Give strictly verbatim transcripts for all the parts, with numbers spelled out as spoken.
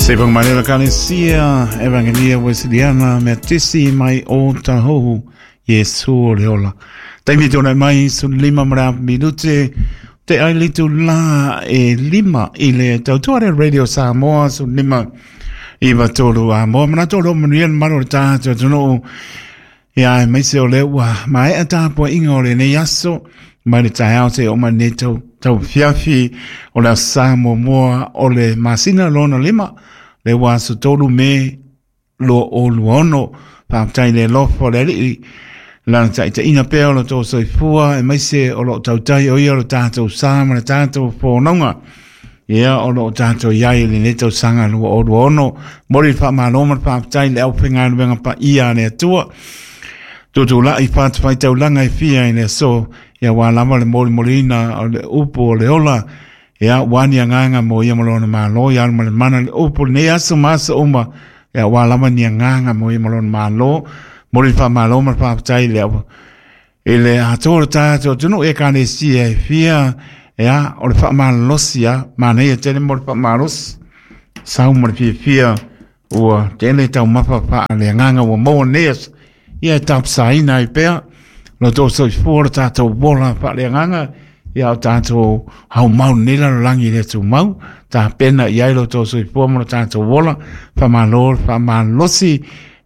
Se whangamarera Kalesia, Evangelia Wesleyana, mea tisi mai o tahohu, Yesu o le ola. Taimi tōna mai, sun lima mara minute, te ailitu la e lima i le tautuare Radio Samoa, sun lima iwa tolu a moa. Mana tolu manuia maro le tātou tunu, ia e maise o le ua, mai a tāpua inga o le nei aso, mai le taeao te o mai nei tau, tau fiafi o le Samoa moa o le masina lona lima, le ua aso tolu me lo o luono, whaatai le lofo le alii, lana taitaina pea o lo tō soifua, e maise o lo tautai o ia o lo tātou sa ma le tātou whānaunga. Ia o lo tātou iai le nei tausaga lua o luono, mori whaamaloma le whaatai le au whenganuenga pa ia le atua. Tutu lai whātawhai taulanga i fia i le so, ia wā lava le mori morina o le upu o le ola, ia wani anganga mo ia malona malo, ia alma le mana le upu nei aso masa uma, ia wā lava ni anganga mo ia malona malo, mori wha malo ma whaatai le au. I le atoa tātou tunu e kane sia e fia, ia o le whaamalosi ia, mana ia tene mo le whaamalosi, sau mo le fia fia, ua tene tau mapa wha le anganga ua moa neas, ia e tapsaina i pea, lo tō soifua lo tātou wola wha le anganga, ia o tātou hau mau nela lo langi le tū mau, tā pena i ai lo tō soifua mo lo tātou wola, whamalo, whamalosi,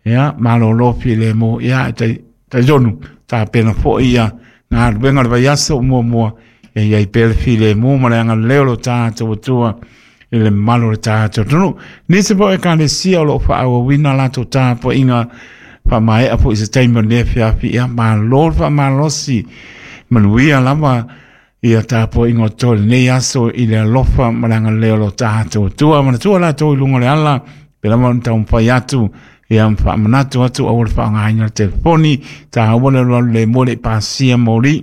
ia, malo lopi le mo, ia, e tai, tai jonu, tā pena fo ia, ngā ruenga le vai aso mua mua, ia ia i pele file mo ma le anga leo lo tātou atua, i le malo le tātou tunu. Nisi po e kane sia o lo wha wina lato tāpo inga, wha mai apo i se taimi o nea fiafi, ia, malo whamalosi, manuia lava, ia tāpo inga o tō nei aso i le alofa ma le anga leo lo tātou atua, mana tua lato i lunga le ala, pe lama o tau mwhai atu, ia whaamanatu atu au le whaangaina le telefoni, tā awale lua le mole pasia mori,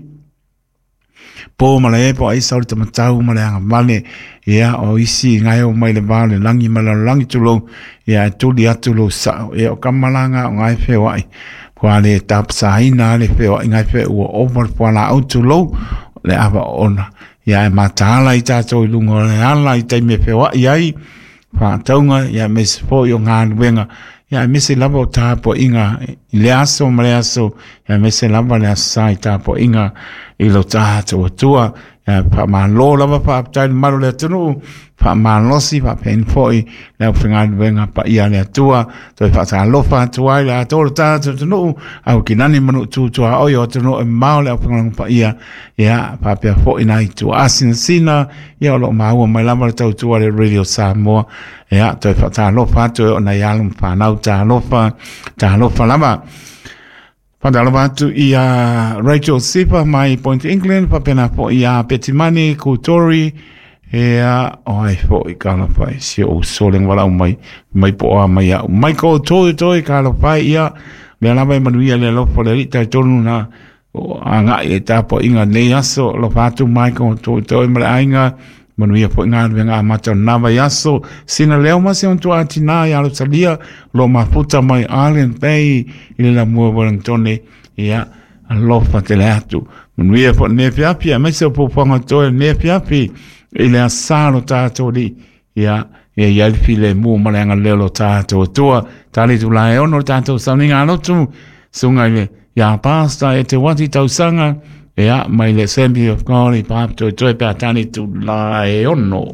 pō ma le epo aisa o le tamatau ma le anga vale, ia o isi ngai o mai le vā le langi ma le langi tulou, ia e tuli atu lou sao, ia o kamalanga o ngai whewai, kua le tapsaina le whewai ngai whe ua ova le puala au tulou, le awa ona, ia e mataala i tātou i lunga o le ala i taimi e whewai ai, whaataunga, ia mese fo i o ngā nuenga, ia mese lava o tāpo inga i le aso ma le aso, ia mese lava le asa i tāpo inga i lo tātou atua, ia whaamalo lava whaaptai le malo le atunu, whaamalosi whaapenfoi le au whenganuenga pa ia le atua, toi whaatalofa atua i le atoa le tātou atunu, au kinani manu tūtua oi o atunu e mao le au whenganuenga pa ia, ia whaapea foi nai tua asina sina, ia o lo maua mai lava le tautua le Radio Samoa, ia toi whaatalofa atu o nai alu whanau tālofa, tālofa lava. Whandalofa atu i a Rachel Sipa mai Point England, whapena po i a Petimani, Kutori, ea, oi fo i kalawhai, si o soleng wala mai, mai po a mai au. Michael Toi Toi kalawhai ia, mea lava e manuia le lofo le rita i tonu na, o a ngai e tāpo inga nei aso, lofa atu Michael Toi Toi ma le ainga, manuia po inga ruenga amata o nava i aso, sina leo mase on tua atina i alo salia, lo mafuta mai Island Bay, i le la mua Wellingtone, ia, alofa te le atu. Manuia po ne fiafi, a mese o pōpanga toi ne fiafi, i le asalo tātou li, ia, ia ia le file mua ma le anga leo lo tātou atua, tāle tu lae ono tātou sauninga alotu, sunga i le, ia pāsta e te wati tausanga, ia, mai le Assembly of God i pāpto i toi pēr tāne tu lae ono.